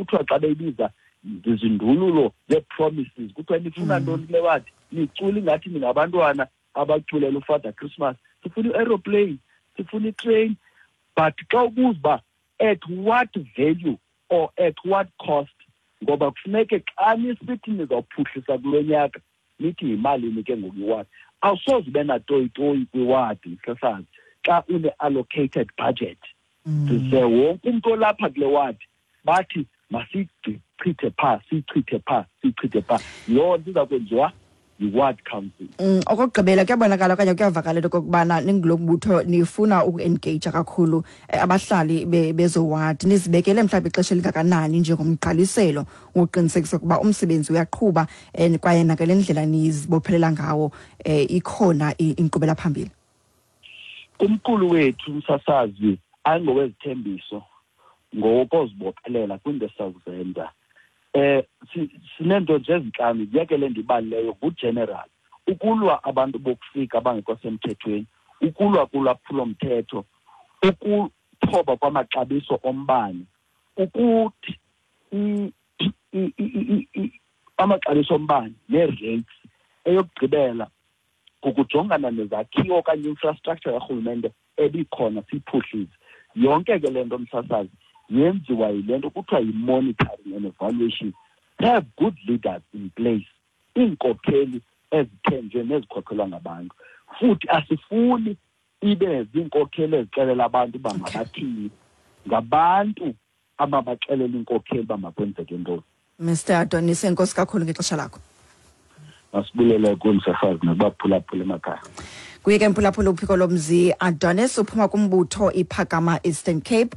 Kuthiwa xa beyibiza zizindululo zee-promises, kuthiwa nifuna ntoni kule wadi, nicula ingathi ningabantwana abaculela uFather Christmas, sifuna i-aeroplane, sifuna i-train. But xa ubuza uba at what value or at what cost, ngoba kufuneke xa nisithi nizawuphuhlisa kulo nyaka nithi yimalini ke ngoku iwadi. Awusoze ube natoyitoyi kwiwadi, msasazi, xa une-allocated budget. Size wonke umntu olapha kule wadi bathi masiyichithe phaa, siyichithe phaa, siyichithe phaa. Loo nto iza kwenziwa yi-ward council. Okokugqibela, kuyabonakala okanye kuyavakala into okokubana ningulo mbutho nifuna uku-engaja kakhulu abahlali bezo ward. Nizibekele mhlawumbi ixesha elingakanani njengomgqaliselo wokuqinisekisa ukuba umsebenzi uyaqhuba kwaye nakale ndlela nizibophelela ngawo ikhona inkqubela phambili? Kumqulu wethu, umsasazi, ayingowezithembiso, ngokozibophelela kwinto esizakuzenza. Sineento nje ezintlanu, yeke le ndibalileyo ngugeneral, ukulwa abantu bokufika abangekho semthethweni, ukulwa kulwaphulomthetho, ukuthoba kwamaxabiso ombane, ukuthi amaxabiso ombane nee-rates. Eyokugqibela kukujongana nezakhiwo okanye infrastructure karhulumente ebikhona siyiphuhlise. Yonke ke le nto, msasazi, yenziwa yile nto kuthiwa yi-monitoring and evaluation. Have good leaders in place, iinkokheli ezithenjwe nezikhokhelwa ngabantu. Futhi asifuni ibe ziinkokheli ezixelela abantu uba mabathini, ngabantu ababaxelela iinkokheli uba makwenzeke ntoni. Mr Adonis, enkosi kakhulu ngexesha lakho. Masibulele kumsasazi nokubaphulaphula emakhaya. Kuye ke mphulaphula, uphiko lomzi Adonis uphuma kumbutho iPhakama Eastern Cape,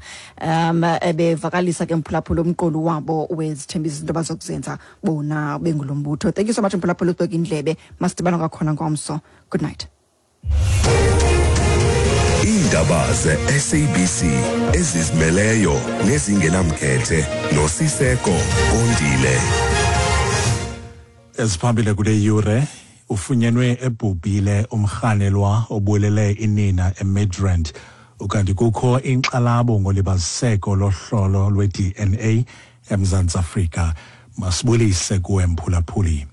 ebevakalisa ke mphulaphula umqulu wabo wezithembiso, izinto bazokuzenza bona bengulo mbutho. Thank you so much, mphulaphula, ubeka indlebe. Masidibana kwakhona ngomso. Good night. Iindaba ze-SABC ezizimeleyo nezingenamkhethe noSiseko Kondile. Eziphambili kule yure: ufunyenwe ebhubhile umrhanelwa obulele inina eMidrand, ukanti kukho inkxalabo ngolibaziseko lohlolo lwe-DNA eMzantsi Afrika. Masibulise kuwe, mphulaphuli.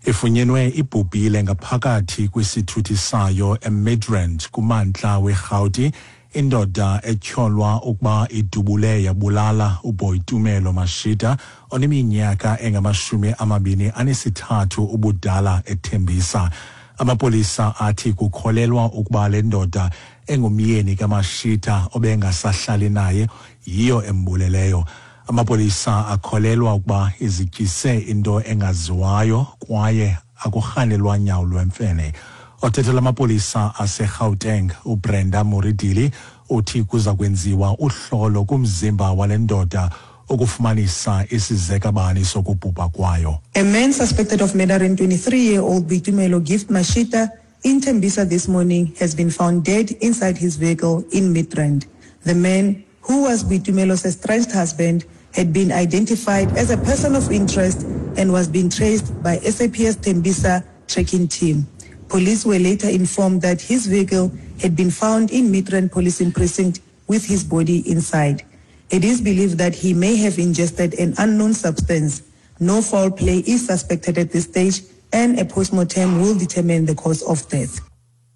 Ifunyenwe ibhubhile ngaphakathi kwisithuthi sayo eMidrand kumantla weRhawuti indoda etyholwa ukuba idubule yabulala uBoitumelo Mashita oneminyaka engama-23 ubudala eThembisa. Amapolisa athi kukholelwa ukuba le ndoda engumyeni kaMashita obengasahlali naye yiyo embuleleyo. Amapolisa akholelwa ukuba izityise into engaziwayo kwaye akurhanelwa nyawo lwemfene. Othethela amapolisa aseGauteng, uBrenda Muridili, uthi kuza kwenziwa uhlolo kumzimba wale ndoda ukufumanisa isizekabani sokubhubha kwayo. A man suspected of murdering 23-year-old Boitumelo Gift Mashita in Tembisa this morning has been found dead inside his vehicle in Midrand. The man, who was Boitumelo's estranged husband, had been identified as a person of interest and was being traced by SAPS Tembisa tracking team. Police were later informed that his vehicle had been found in Midrand Policing Precinct with his body inside. It is believed that he may have ingested an unknown substance. No foul play is suspected at this stage, and a postmortem will determine the cause of death.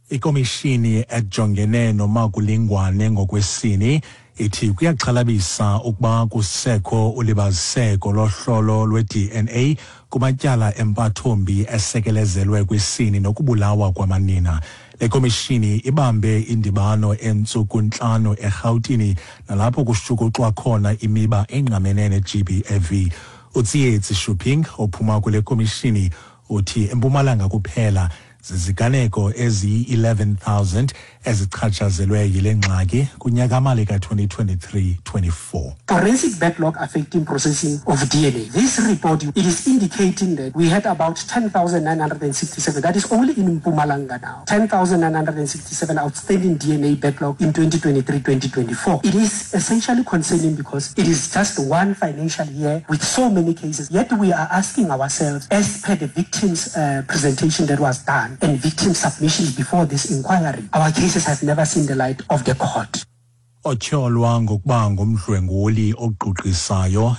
Ikomishini ejongene nomakulingwane ngokwesini ithi kuyaxhalabisa ukuba kusekho ulibaziseko lohlolo lwe-DNA kumatyala empathombi esekelezelwe kwisini nokubulawa kwamanina. Le komishini ibambe indibano entsuku 5 eRhawutini nalapho kushukuxwa khona imiba engqamene ne-GBV. UTsietsi Shuping ophuma kule komishini uthi eMpumalanga kuphela ziziganeko eziyi-11,000 ezichatshazelwe yile ngxaki kunyaka-mali ka-2023-24. Forensic backlog affecting processing of DNA. This report, it is indicating that we had about 10,967. That is only in Mpumalanga now. 10,967 outstanding DNA backlog in 2023-2024. It is essentially concerning because it is just one financial year with so many cases. Yet we are asking ourselves, as per the victims' presentation that was done and victim submissions before this inquiry, our cases have never seen the light of the court. Otyholwa ngokuba ngumdlwenguli ogqugqisayo.